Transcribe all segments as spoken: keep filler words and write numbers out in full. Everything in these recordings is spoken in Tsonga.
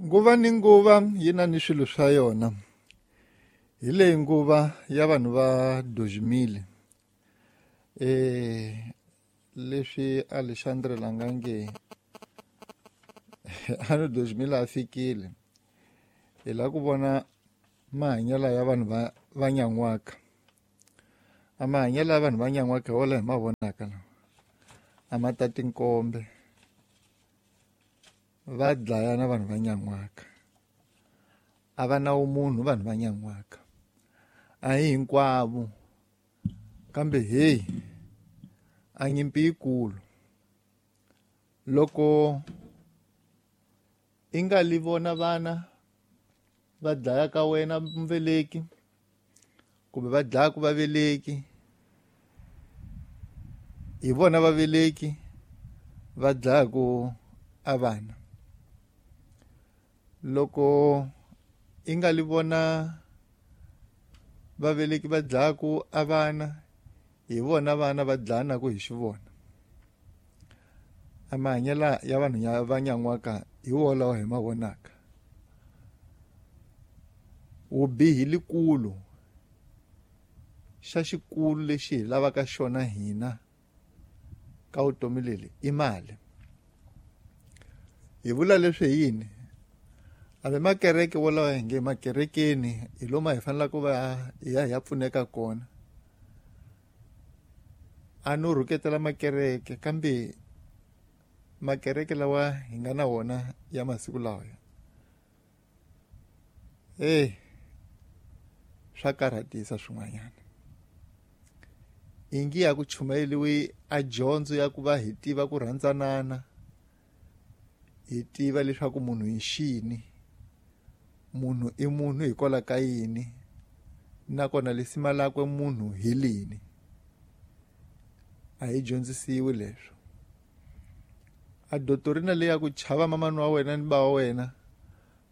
Nguva ni nguva yi na ni swilo swa yona. Hi leyi nguva ya vanhu va Dozimile. Eh leswi Alexandre Langange a Dozimile a fikile. Hi la ku vona mahanyelo ya vanhu va va Nyan'waka. A mahanyelo ya vanhu va Nyan'waka wala hi ma vonaka lawa. A ma tati nkombe. Va dlayana vanhu va Nyan'waka. A va na vumunhu vanhu va Nyan'waka. A hi hinkwavo. Kambe hey, a nyimpi yikulu. Loko i nga li vona vana va dlaya ka wena mveleki kumbe va dlaya ku vaveleki, hi vona vaveleki va dlaya ku a vana. Loko i nga li vona vaveleki va dlaya ku a vana, hi vona vana va dlayanaku hi xivona. A mahanyelo ya vanhu ya va Nyan'waka hi wolawo hi ma vonaka. Vubihi likulu xa xikulu lexi hi lavaka xona hina ka vutomi leli i mali. Hi vula leswi hi yini? Hambi makereke wolawo hi nge makerekeni hi lomu hi fanelaka ku va hi ya hi ya pfuneka kona. A no rhuketela makereke, kambe makereke lawa hi nga na wona ya masiku lawa eh swa karhatisa swin'wanyana. Ingi ya ku chumayeliwi a dyondzo ya ku va hi tiva ku rhandzanana, hi tiva leswaku munhu hi xini, munhu i munhu hikwalaho ka yini, nakona lisima lakwe munhu hi lini. A hi dyondzisiwi leswo. A dotorina leyi ya ku chava mamani wa wena ni ba wa wena,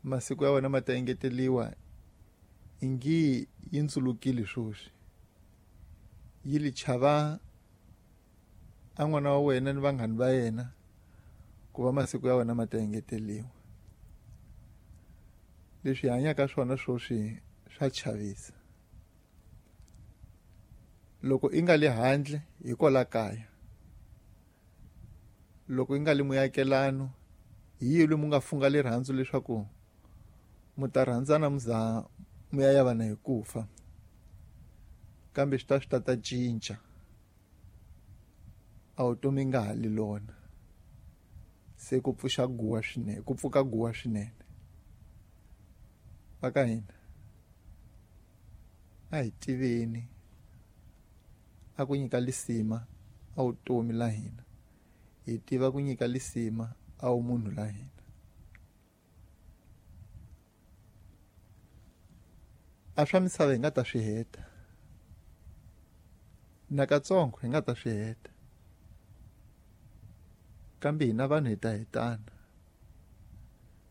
masiku ya wena ma ta engeteliwa, ingi yi ndzulukile sweswi. Yi li chava a n'wana wa wena ni vanghani va yena ku va masiku ya wena ma ta engeteliwa. Leswi hi hanyaka swona sweswi swa chavisa. Loko i nga le handle hi kwala kaya, loko i nga le muakelano, hi yihi lomu nga funga rirhandzu leswaku mu ta rhandzana mu za mu ya yavana hi ku fa, kambe swi ta swi ta ta cinca. A vutomi nga ha li lona. Se ku pfuxa guwa swinene, ku pfuka guwa swinene. Va ka hina a hi tiveni a ku nyika lisima a vutomi la hina, hi tiva ku nyika lisima a vumunhu la hina. A swa misava hi nga ta swi heta, nakatsongo hi nga ta swi heta, kambe hina vanhu hi ta hetana.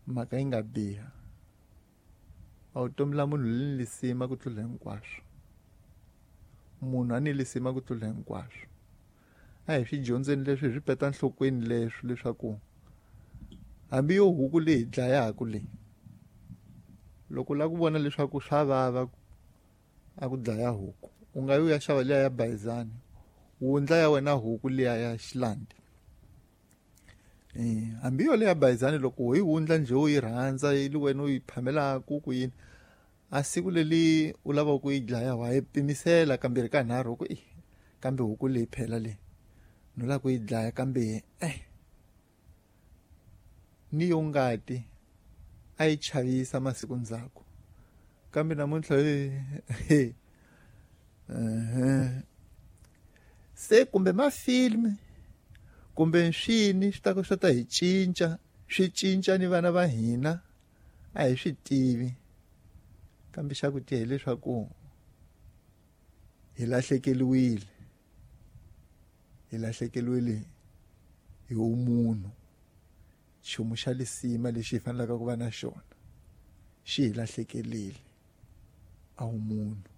Mhaka yi nga biha. A vutomi la munhu li ni lisima ku tlula hinkwaswo. Munhu a ni lisima ku tlula hinkwaswo. A hi swi dyondzeni leswi, hi swi peta nhlokweni leswi, leswaku hambi yo huku leyi hi dlayaka leyi, loko u lava ku vona leswaku swa vava a ku dlaya huku, u nga yi u ya xava liya ya bayizani, wundla ya wena huku liya ya xilandi. Eh, hambi yo leya bayizani loko u yi wundla njhe u yi rhandza, yi li wena u yi phamelaka ku yini, a siku leli u lavaka ku yi dlaya wa yi pimisela kambirhi ka nharhu ku, eh, kambe huku leyi phela leyi no lava ku yi dlaya, kambe eh ni yo ngati a yi chavisa masiku ndzhaku, kambe namuntlha eh, eh, se kumbe mafilmi kumbe swini swi ta swi ta hi cinca, swi cinca ni vana va hina, a hi swi tivi. Kambe xa ku tiya hileswaku hi lahlekeriwile, hi lahlekeriwile hi vumunhu. Nchumu xa lisima lexi hi fanelaka ku va na xona xi hi lahlekerile, a vumunhu.